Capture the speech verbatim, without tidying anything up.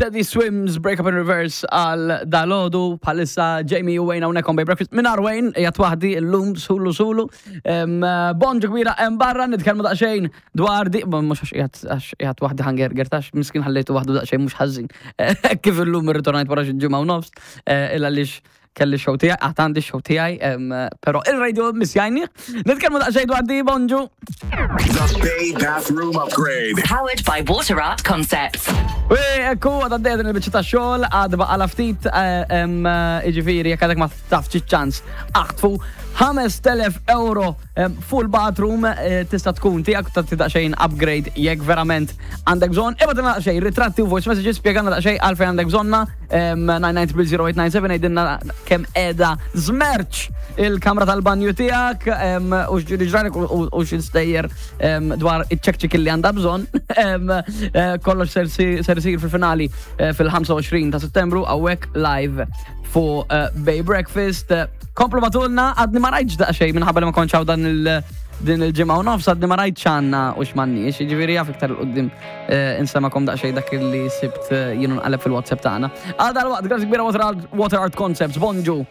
Teddy Swims, Break Up in Reverse għal dalgħodu, bħalissa Jamie u Wayne hawnhekk on Bay Breakfast. Mingħajr Wayne, qiegħed waħdi llum sulu sulu. Em, Bonġu kbira hemm barra, nitkellmu daqsxejn dwar di, ma mhux għax qiegħed għax qiegħed waħdi ħa ngerger tax, miskin ħallejtu waħdu daqsxejn mhux ħażin. Kif illum irritornajt wara xi ġimgħa u nofs, eh, illa għaliex kelli show tiegħi, għad għandi show tiegħi, em, però il-radio missjajni. Nitkellmu daqsxejn dwar di, bonġu. The Bay Bathroom Upgrade. Powered by Water Art Concepts. U ekku, għadha għaddejja din il-biċċa ta' xogħol, għad baqa' ftit, jiġifieri, jekk għadek ma tafx ċans, aħtfu ħamest elef euro em, full bathroom eh, tista' tkun tiegħek ta' daqsxejn upgrade jekk verament għandek bżonn. Ibgħatilna daqsxejn ritratti u voice messages, spjegana daqsxejn għalfejn għandek bżonna tnejn tnejn żero tlieta tnejn seba', għidilna kemm qiegħda żmerċ il-kamra tal-banju tiegħek em, u x'ġiri ġralek u u x'istejjer em, dwar iċ-ċekċik li għandha bżonn. Em, eh, Kollox ser si- ser isir fil-finali eh, fil-ħamsa u għoxrin ta' Settembru hawnhekk live fuq eh, Bay Breakfast. Eh, Komplu ibgħatulna, għadni ma rajtx daqsxejn minħabba li ma kontx hawn dan il- din il-ġimgħa u nofs, għadni ma rajt x'għandna u x'm'għandniex, jiġifieri jaf iktar 'il quddiem insemmagħkom daqsxejn dak li sibt eh, jienu nqalleb fil-WhatsApp tagħna. Għal dal-waqt, grazzi kbira Water Art, Water Art Concepts, bonġu.